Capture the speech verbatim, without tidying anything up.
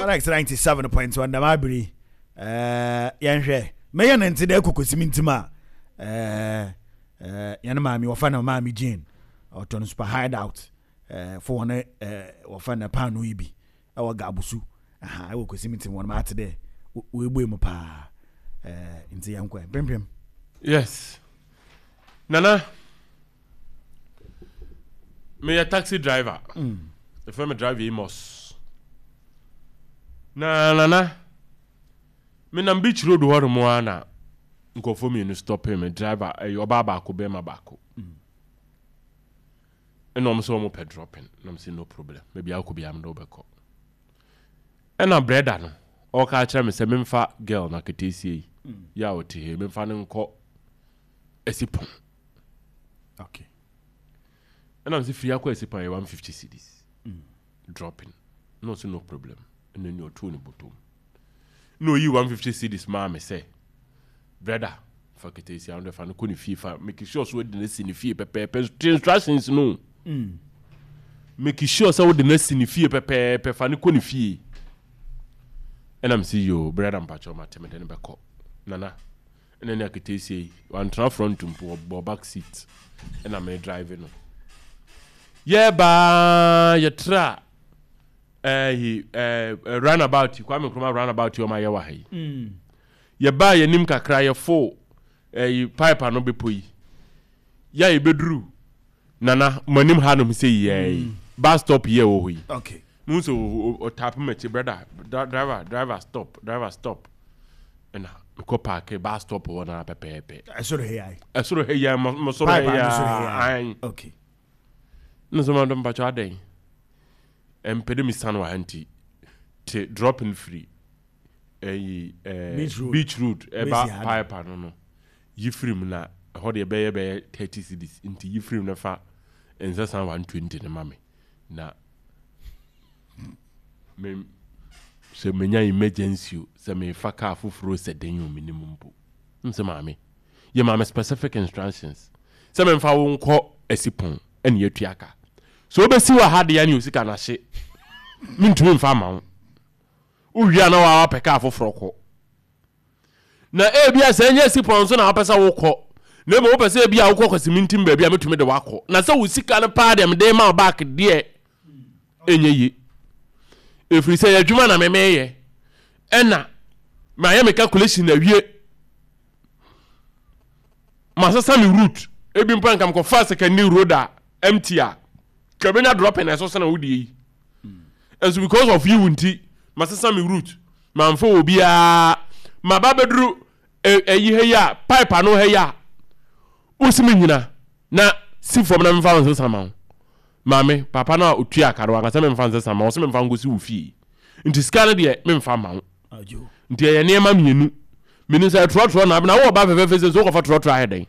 Alex ninety-seven point one dɛm abiri ɛɛ yɛnhwɛ mɛyɛ ne nti dɛ ɛkɔ mi ntim a ɛɛ ɛɛ yɛn maame wɔfa no Maame Jane, ɔtɔ no Super Hideout ɛɛ fo wɔn ɛɛ wɔfa no paano yi bi ɛwɔ Gabusu aha ɛwɔ Kosimi ntim. Wɔn ate dɛ wɔebue mu paa ɛɛ nti yɛn kɔ mpempem. Yes, Nana, meyɛ taxi driver. Ɛfrɛ me Driver Amos. Na Nana, menam Beach Road hɔ nom a na nkurɔfoɔ mmienu stop me. Driver ɛyɛ ɔbaa baako, bɛrima baako, ɛna ɔmo sɛ ɔmo pɛ dropping, na ɔmo sɛ no problem, baabi akɔ biara mede wobɛkɔ. Ɛna brɛda no ɔka kyerɛ me sɛ memfa girl na keteesie yi yɛ a ɔte he, memfa no nkɔ Asipɔn. Okay ɛna sɛ firi akɔ Asipɔn yɛ one fifty cedis dropping, na ɔsɛ no problem. Ɛna ni ɔtoo ne bɔtɔm na ɔyi one fifty cedis maa me sɛ, brɛda, fa keteesie ano de fa no kɔ ne fie, fa make sure so wode no asi ne fie pɛpɛɛpɛ. Tie instructions no, make sure sɛ wode no asi ne fie pɛpɛɛpɛ, fa no kɔ ne fie. Ɛna mesi, yo brɛda, mpakyɛw, mate, mede no bɛkɔ. Nana, ɛna ne aketeesie yi wantena front mpo, ɔbɔ back seat ɛna me drive no. Yɛbaa yɛtra ɛyi ɛɛ roundabout yi, Kwame Nkrumah roundabout yi ɔma yɛwɔ ha yi, yɛbaa yɛnim kakra, yɛfo ɛyi pipe ano bepɔ yi yɛ a yɛbɛduru Nana mo anim hanom sɛ yi bus stop yi a ɛwɔ hɔ yi, okay mo sɛ ɔtap m'akyi, brother, driver, driver stop, driver stop. Ɛna mekɔ park bus stop hɔ na pɛpɛɛpɛ. Ɛsoro ha yi? Ɛsoro ha yi, mo soro ha pipe yi. Ano soro ha yi? Ayi. Okay ne sɛ madɔ, mpakyɛ, adɛn ɛmpɛ dɛ mesane wɔ ha nti te dropping firi ɛyi ɛɛ Beach Road. Beach Road ɛba Besi ha. Pipe ano no, yi firi mu na ɛhɔ deɛ bɛyɛ bɛyɛ thirty cedis, nti yi firi mu na fa nsɛsan one twenty ne ma me na me sɛ menya emergency o, sɛ mefa car foforɔ sɛ den o, menim mpo n sɛ maame yɛ maame specific instructions sɛ memfa wo nkɔ Asipɔn ɛne yɛatua ka so wobɛsi wɔ ha deɛ ne osika no ahye, mentumi mfa ma wo. Wowie a na waa wapɛ kaa foforɔ kɔ, na ebia sɛ ɛnyɛ Asipɔn so na wapɛ sɛ wokɔ, na mmom wopɛ sɛ ebia wokɔ Kwasimintim baabi a metumi de wakɔ, na sɛ wo sika no paa deɛ mede ma wo back deɛ ɛnyɛ yie, ɛfiri sɛ yɛ adwuma na memeyɛ ɛna mayɛ me calculation awie, masesa me route. Ebi mpo nka mekɔfa Secondary Road a empty a ka bɛnya dropping na ɛso sene wo deɛ yi nso, because of you nti masesa me route, mamfa wɔ biara maba bɛduru ɛyi ha yi a pipe ano ha yi a wosi me nyina na si fam na memfa wo nsesa ma wo. Maame, papa no a otua aka no wankasa memfa nsesa ma wo, sɛ memfa nkɔsi wo fie, nti sika no deɛ memfa ma wo. Nti ɛyɛ nneɛma mmienu. Menim sɛ trɔtrɔ na abena wowɔ ba fɛfɛɛfɛ sɛ so wokɔfa trɔtrɔ ayɛ dɛn?